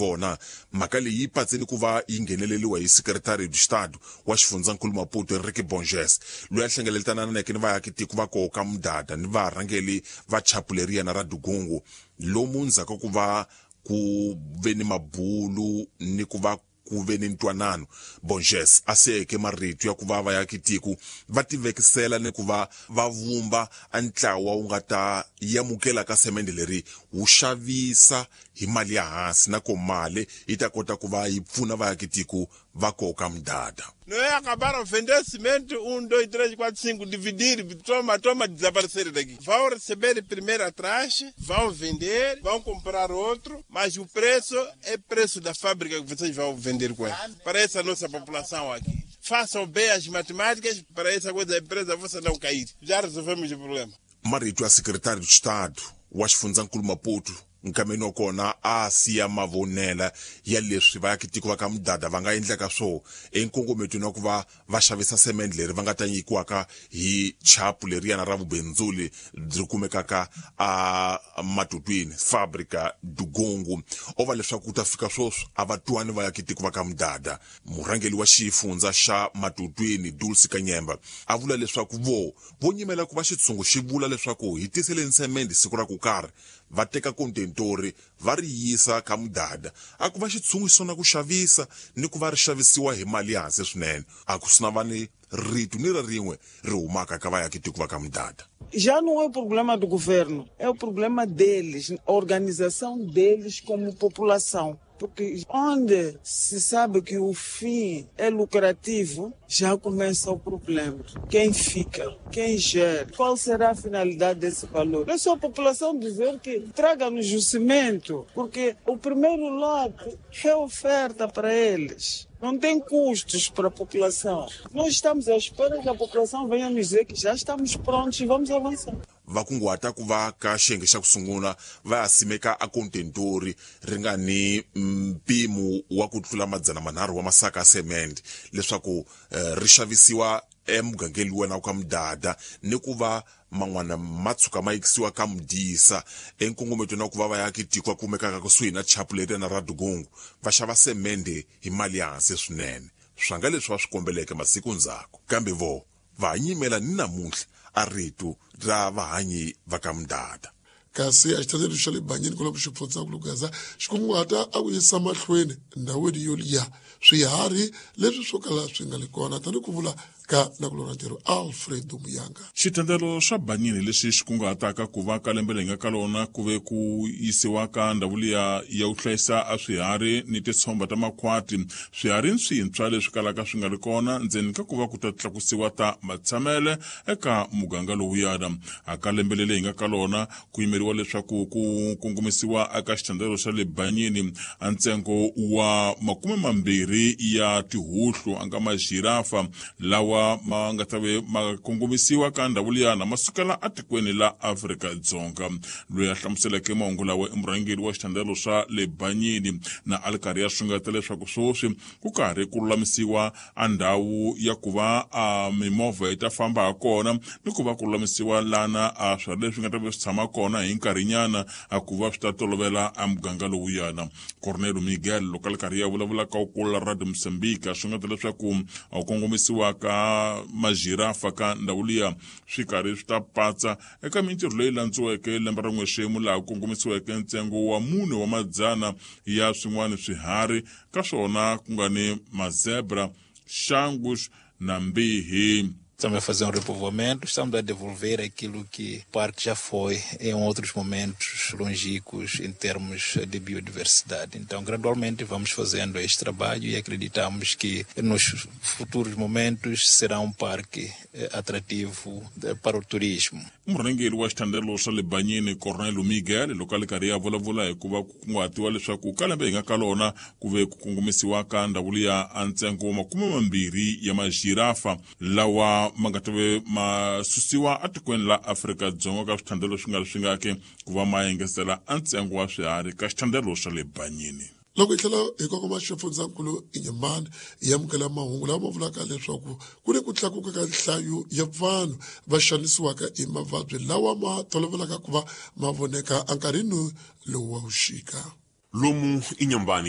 Vona mhaka leyi yi patseni ku va yi ngheneleriwa hi Secretary de Estado wa xifundzankulu Maputo, Enrique Bonges, loyi a hlengeletananeke ni vaakitiko va koho ka Mudada ni varhangeli va chapu leriyana ra Dugungu, lomu ndzhaku ka ku va ku ve ni mabulu ni ku va ku ve ni ntwanano. Bonges a siyeke marito ya ku va vaakitiko va tivekisela ni ku va va vumba a ntlawa wu nga ta yamukela ka semende leri wu xavisa hi mali ya hansi, na ko mali yi ta kota ku va yi pfuna vaakitiko va koho ka Mudada. Não é acabaram vender cimento, 1, 2, 3, 4, 5, dividir, toma, toma, desaparecer daqui. Vão receber primeiro atrás, vão vender, vão comprar outro, mas o preço é preço da fábrica que vocês vão vender com ela. Para essa nossa população aqui. Façam bem as matemáticas para essa coisa da empresa você não cair. Já resolvemos o problema. Marito ya Secretário de Estado wa xifundzankulu Maputo nkameni wa kona a siya mavonela ya leswi vaakitiko va ka Mudada va nga endlaka swo enkongometweni wa ku va va xavisa semende leri va nga ta nyikiwaka hi chapu leriyana ra vubindzuli byi kumekaka a Matutwini, Fabrica Dugungu. O va leswaku ku ta fika sweswi a va twani vaakitiko va ka Mudada. Murhangeli wa xifundza xa Matutwini, Dulce Kanyemba, a vula leswaku vo vo nyimela ku va xitshungu xi vula leswaku hi tiseleni semende siku ra ku karhi, va teka kontentori va ri yisa ka Mudada, a ku va xitshungu xi sungula ku xavisa ni ku va ri xavisiwa hi mali ya hansi swinene. A ku swi na va ni rito ni ra rin'we ri humaka ka vaakitiko va ka Mudada. Já não é o problema do governo, é o problema deles, a organização deles como população. Porque onde se sabe que o fim é lucrativo, já começa o problema. Quem fica? Quem gera? Qual será a finalidade desse valor? É só a população dizer que traga-nos o cimento, porque o primeiro lote é oferta para eles. Não tem custos para a população. Nós estamos à espera que a população venha nos dizer que já estamos prontos e vamos avançar. Va kunguhata ku va ka xiyenge xa ku sungula va ya simeka a kontentori ri nga ni mpimo wa ku tlula 300 wa masaka ya semende leswaku ri xavisiwa emugangeni wena ka Mudada, ni ku va man'wana ma tshuka ma yikisiwa ka Mudisa enkongometweni wa ku va vaakitiko va kumekaka kusuhi na chapu leri na ra Dugungu va xava semende hi mali ya hansi swinene, swa nga leswi va swi kombeleke masiku ndzhaku, kambe vo va nyimela ni namuntlha a rito ra vahanyi va ka Mudada. Kasi a xithandelo xa le Banyini kwalomu xifundzankulu Gaza xi kunguhata a ku yisa mahlweni ndhawini yo liya swiharhi leswi swo kala swi nga le kona, tanihi ku vula ka nakulora ntirho Alfredo Muyanga. Xitendelo xa Banyini lexi xi kunguhataka ku va ka lembe leyi nga ka lona ku ve ku yisiwa ka ndhawu liya ya ku hlayisa a swiharhi ni titshomba ta makhwati, swiharhi swintshwa leswi kalaka swi nga ri kona, ndzeni ka ku va ku ta tlakusiwa ta matshamele eka muganga lowuyana. A ka lembe leri hi nga ka lona ku yimeriwa leswaku ku kongomisiwa eka xitendelo xa le Banyini a ntsengo wa 20 ya tihuhlu a nga majirafa lawa ma nga ta ve ma kongomisiwa ka ndhawu liyana ma sukela atikweni la Afrika-Dzonga. Loyi a hlamuseleke mahungu lawa i murhangeri wa xitendelo xa le Banyini, na a ri karhi ya xungeta leswaku sweswi ku karhi ku lulamisiwa a ndhawu ya ku va a mimovha yi ta famba ha kona, ni ku va ku lulamisiwa lana a swiharhi leswi nga ta ve swi tshama kona hi nkarhinyana a ku va swi ta tolovela a muganga lowuyana. Cornelio Miguel loko a ri karhi ya vulavula ka kula Radio Mozambique a xungeta leswaku a kongomisiwa ka majirafa ka ndhawu liya swi karhi swi ta patsa eka mintirho leyi landziweke lembe ra n'wexemu, laha ku kongomisiweke ntsengo wa 400 ya swin'wana swiharhi, ka swona ku nga ni mazebra, xangus na mbihi. Estamos a fazer um repovoamento, estamos a devolver aquilo que o parque já foi em outros momentos longínquos em termos de biodiversidade. Então, gradualmente vamos fazendo este trabalho e acreditamos que nos futuros momentos será um parque atrativo para o turismo. Murhangeri wa xithandelo xa le Banyini, Cornelio Miguel, loko a ri karhi ya vulavula hi ku va ku kunguhatiwa leswaku ka lembe hi nga ka lona ku ve ku kongomisiwa ka ndhawu liya a ntsengo wa 20 ya majirafa lawa ma nga ta ve ma susiwa atikweni la Afrika-Dzonga ka swithandelo swi nga ri swi ngaki ku va ma engetela a ntsengo wa swiharhi ka xithandelo xa le Banyini. Loko hi tlhela hi kongoma xifundzankulu Inyamani, hi amukela mahungu lawa ma vulaka leswaku ku ni ku tlakuka ka nhlayo ya vanhu va xanisiwaka hi mavabyi lawa ma tolovelaka ku va ma voneka enkarhini lowu wa vuxika. Lomu Inyambani.